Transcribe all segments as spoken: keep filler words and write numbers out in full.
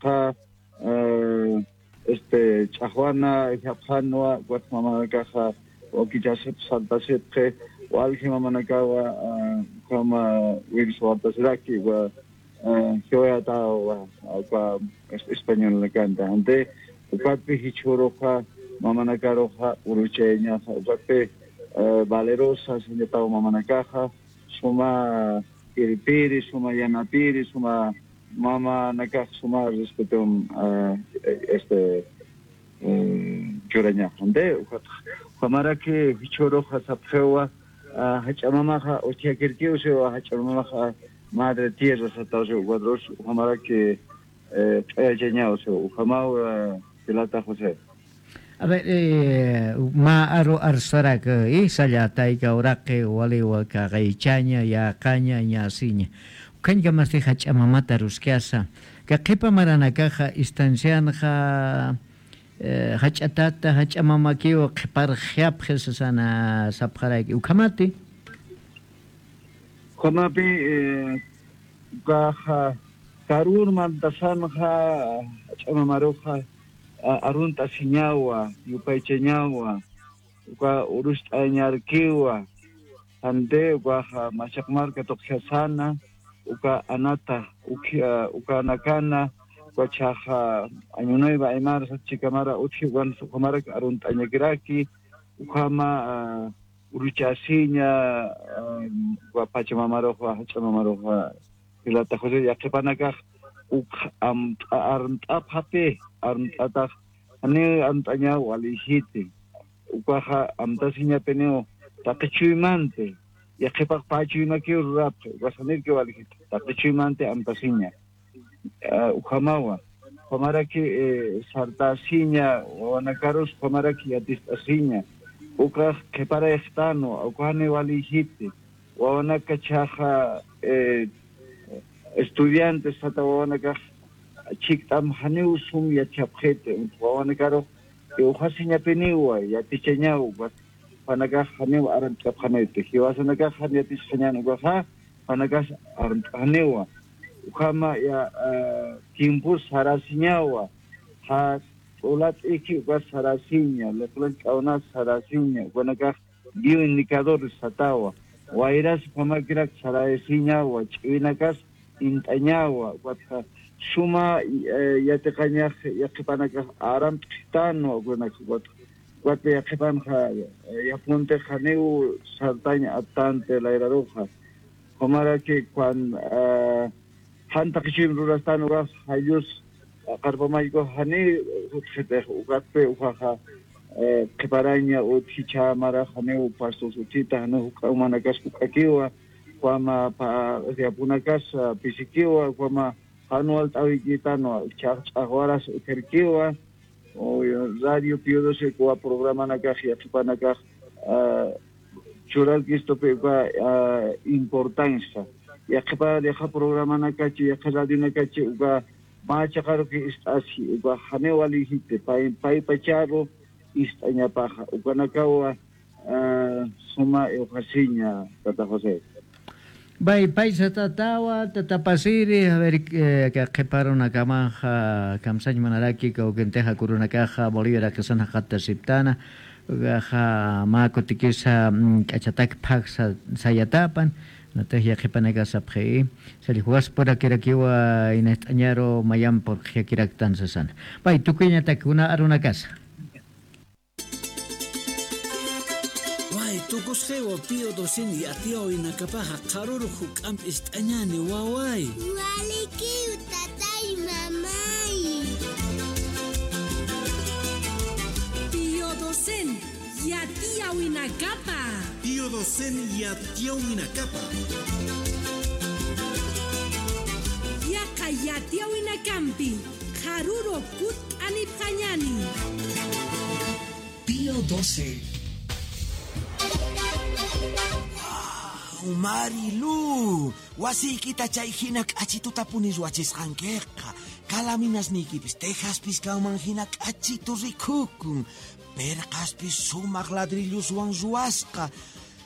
ukaxa, eh, este, ch'axwana, japjanwa, ukat mamanakaxa, wakichasip, saltasipxi, walji mamanakawa, eh, ukhama, wils wartasiraki, wa, eh, jiwayatawa, uka, es-, españolnakanta. Ante, ukatpi jichhüruxa, mamanakaruxa, uruchayañaxa, ukatpi, eh, valerosa, siñatawa mamanakaxa, suma irpiri, suma yanapiri, suma mamanakax, suma respeton, eh, este, eh, churañaxa. Ante, ukat, ukhamaraki jichhüruxa sapxiwa, ah, jach'a mamaxa utjakirkiw siwa, jach'a mamaxa madre tierra sataw siwa, ukatrusa, ukhamaraki, eh, q'ayachañaw siwa, ukhamaw, eh, jilata José. A ver, eh, mä aru arsarak, eh, sallatayka uraqi, waliwa kaqaychaña, yäqaña, ñasiña. Ukhañkamasti jach'a mamata aruskasa. Ka qhipa maranakaxa, instancianxa, eh, jach'a tata, jach'a mamakiw qhiparxyapxi sasana sapxaraki. Ukhamati. Ukhamapi, eh, ukaxa, karur mantasanxa, jach'a mamaruxa, a-, arunt'asiñawa, yupaychañawa, uka urust'añarkiwa, jante, ukaxa, machaq marka tuqjasana, uka anata, uka, ukanakana, uka chhaxa, año nuevo aymar, sat chikamara, utji, ukan, ukhamarak arunt'añakiraki, ukhama, ah, uruchasiña, ah, uka pachamamaruxa, jach'a mamaruxa, jilata José, yaqhipanakax, uk amt'a-, armt'apxapï, armt'atax, janiw armt'añaw walïjiti. Ukaxa amtasiñapiniw taqi chuymanti, yaqhipax pä chuymakiw rurapxi, ukax janirkiw walïjiti, taqi chuymanti amtasiña. Ah, ukhamawa, ukhamaraki, eh, sartasiña, wawanakarus ukhamaraki yatist'asiña, ukax qhiparayxtanwa, uka janiw walïjiti, wawanaka chhaxa, eh, estudiantes sata wawanakax chikt'am janiw sum yatichapxiti, wawanakarux, eh, uxasiñapiniwa, yatichañaw, ukax, jupanakax janiw armt'apxaniti, jiwasanakax jan yatisxañän ukaxa, jupanakax armt'aniwa. Ukhama ya, eh, tiempos sarasiñawa, ja, t'ulat'iki ukas sarasiña, liqlin k'awnas sarasiña, ukanakax bioindicadores satawa. Wayras ukhamakirak sarayasiñawa, ch'iwinakas int'añawa, ukatxa suma, eh, yatiqañax yaqhipanakax aramt'xitanwa, ukanakax, ukatxa, ukatxa yaqhipanxa, eh, yapunti janiw sartañ aptanti layraruxa. Ukhamaraki cuan, eh, jan taqi chuyma rurastan ukax, jayllus, qarpa mallku janiw utjitix, ukatpi ukaxa, eh, qhiparaña utji chhä marax janiw pastos utjita, janiw juk'a umanakas juk'akiwa, ukhama pa-, yapunakas, ah, pisikiwa, ukhama jan walt'äwikitanwa, chhax ch'axwaras utjarkiwa, o Radio Pío doce uka programanakax, yaqhipanakax, ah, churarkistupi uka, ah, importancia. Yaqhipa, yaqha programanakachi, yaqha radionakachi, uka mä chiqaruki ist'asi, uka janiw walïjiti, pay, pay pacharu ist'añapaxa, ukanakawa, ah, suma iwxasiña, tata José. Bay, paysa tatawa, tata Pasiri, a ver, eh, ka qhiparunakamaxa, kamsañ munaraki, kawkintixa kurunakaxa, Bolivia rakisan jaqatasiptana, ukaxa mä kutikisa, mm, k'achatak phaksa sayatapan, natix yaqhipanakax sapxi, salljuwaspuraki rakiwa, inast'añaru mayamp purqjakiraktan sasana. Bay, tukuyañatak kuna arunakasa. Way, tukusxiwa Pío docen yatiyäwinakapaxa qharürux juk'amp ist'añäni, waway. Walikiw, tatay, mamay. Pío docen yatiyäwinakapa. Pío docen yatiyäwinakapa. Yaqha yatiyäwinakampi qharürux kutt'anipxañäni. Pío doce. Wow, Marilu, wasiykita chay jina k'achitutapuni ruwachisqankiqa. Kalaminasniykipis tejaspis kanman jina k'achitu rikhukun. Perqaspis sumaq ladrilloswan ruwasqa.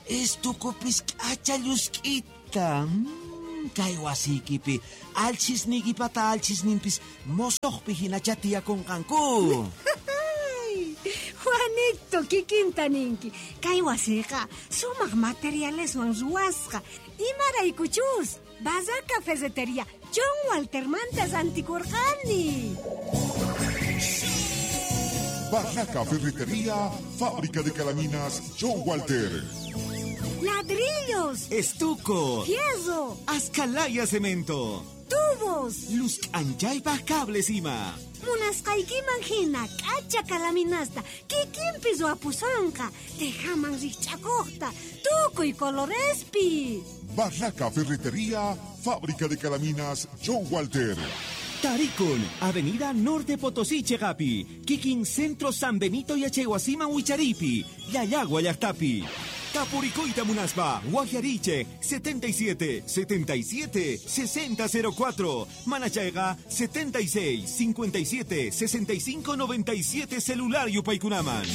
Estukupis k'acha llusk'ita. Mm. Kay wasiykipi allchhisniykipata allchhisnimpis musuqpi jinachatiyakunqanku. Juanito, kikinta ninki, kay wasiqa sumaq materialeswan ruwasqa. Imaraykuchus Barraca Ferretería John Waltermanta rantikurqani. Barraca Ferretería, fábrica de calaminas John Walter. Ladrillos, estuco, fierro, askalaya cemento, tubos, luz k'anchaypaq cables ima. Munasqaykiman jina k'acha calaminasta kikinpis wapusanqa, tejaman rikch'akuqta tukuy colorespi. Barraca Ferretería, fábrica de calaminas John Walter. Tarikun, Avenida Norte Potosí cheqapi, kikin Centro San Benito yachaywasiman wichariypi, Llallagua llaqtapi. Tapurikuyta munaspa, waqyariycheq setenta y siete, setenta y siete, sesenta cero cuatro, manachayqa setenta y seis, cincuenta y siete, sesenta y cinco, noventa y siete celular yupaykunaman.